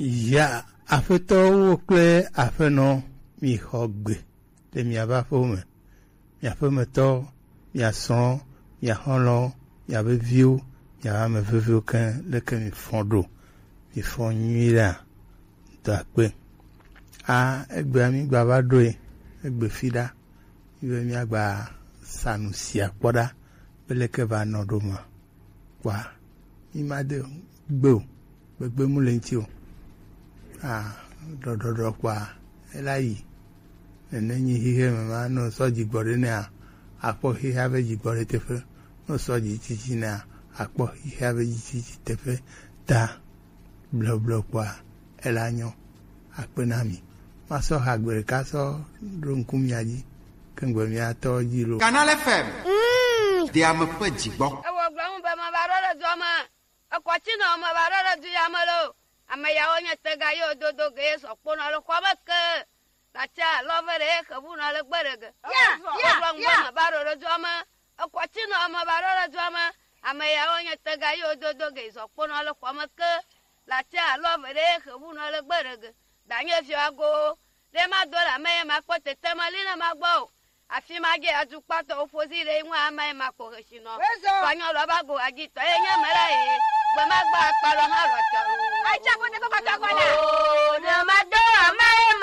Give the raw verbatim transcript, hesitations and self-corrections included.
Ya, aƒetɔwo kple aƒenɔ, mixɔ gbe le miaƒe aƒewo me. Mia ƒemetɔ, mia srɔ̃, mia xɔlɔ̃, miaƒe viwo, miaƒe ame veviwo keŋ, leke mifɔ ɖo? Mifɔ nyuie ɖea? Dɔ akpe. A, egbea mígba va ɖoe, egbe fi ɖa, yi be míagba sa nu sia kpɔ ɖa, be leke va nɔ ɖo ma. Kpɔa, mi ma de gbe o, gbegbe mu le ŋuti o. A, ɖɔɖɔɖɔ kpɔa, ela yi. Nene nyi xixe me ma, ne sɔ dzi gbɔ ɖe nɛa, akpɔ xixea be dzi gbɔ ɖe teƒe. Ne sɔ dzi tsitsi nɛa, akpɔ xixea be dzi tsitsi teƒe. Ta bleble kpɔa, ela nyɔ. Akpe na mi. Masɔ ha gbe ɖeka sɔ ɖo ŋku mia dzi, ke ŋgbe mia tɔ dzi lo. Canal F M. Mm. Ɖe ame ƒe dzi gbɔ. Ewɔ gblɔ ŋu be meva ɖo ɖe dua me. Ekɔ tsi nɔ meva ɖo ɖe du ya me lo. Ame yawo nye tega ye wododo ge ye sɔ kponɔ le xɔa me ke. Latsi alɔ ve ɖe ye xevu nɔ le gbe ɖe ge. Ya, ya, wogblɔ ŋu be ya. Meva ɖo ɖe dua me. Ekɔ tsi nɔ meva ɖo ɖe dua me. Ame yawo nye tega ye wododo ge ye sɔ kponɔ le xɔa me ke. Latsi alɔ ve ɖe ye xevu nɔ le gbe ɖe ge. Danye viwa go. Ɖe ma do la me ye ma kpɔ tete ma li na ma gbɔ o. Afi ma ge atukpatɔwo ƒo zi ɖe ŋu ame ye ma kpɔ hesi nɔ. Wezɔ. Kɔnyɔ lɔ ba go agitɔ ye nye me la ye. Gbe ma gba akpa lɔ ma lɔ tɔ o. Ayi tsa ko ne ko kɔtɔ kɔ la. O, ne ma do ame ye ma